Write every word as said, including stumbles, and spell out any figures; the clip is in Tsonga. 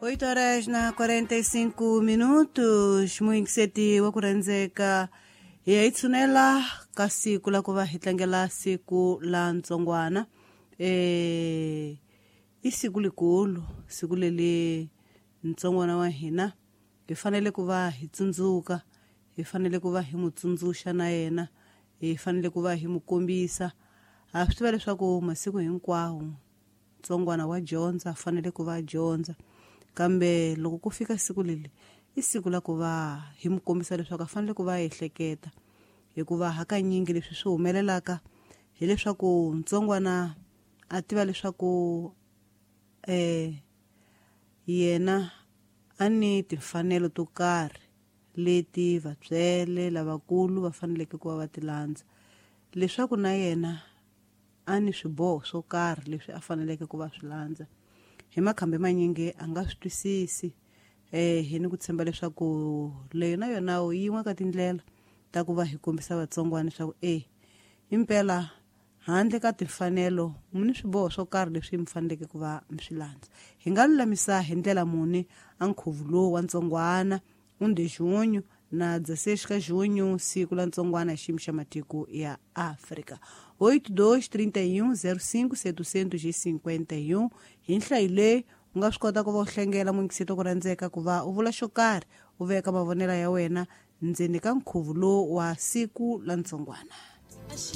Oito horas na quarenta e cinco minutos, muyingiseti wa ku rhandzeka, hi ya hi tshunela ka siku la ku va hi tlangela siku la ntsongwana. Eh, i siku likulu, siku leli ntsongwana wa hina hi fanele ku va hi tsundzuka, hi fanele ku va hi n'wi tsundzuxa na yena, hi fanele ku va hi n'wi kombisa. Ha swi tiva leswaku masiku hinkwawo ntsongwana wa dyondza, fanele ku va dyondza, kambe loko ku fika siku leli i siku la ku va hi n'wi kombisa leswaku a fanele ku va ehleketa, hikuva hakanyingi leswi swi humelelaka hileswaku ntsongwana a tiva leswaku eh yena a ni timfanelo to karhi leti vatswele lavakulu va faneleke ku va va ti landza, leswaku na yena a ni swiboho swo karhi leswi a faneleke ku va swi landza. Hi makhambi manyingi a nga swi twisisi, eh hi ni ku tshemba leswaku leyo na yona yin'we ka tindlela ta ku va hi kombisa vatsongwana leswaku e impela handle ka timfanelo mi ni swiboho swo karhi leswi mi faneleke ku va mi swi landza. Hi nga lulamisa hi ndlela muni a nkhuvo lowu wa ntsongwana um de junho na dezesseis ka junho, siku la ntsongwana xiyimo xa matiko ya Afrika. Oito dois trinta e um zero cinco setecentos e cinquenta e um hi nhlayo leyi u nga swi kota ku va u hlengela muyingiseti ku rhandzeka ku va u vula xo karhi, u veka mavonelo ya wena ndzeni ka nkhuvo lowu wa siku la ntsongwana.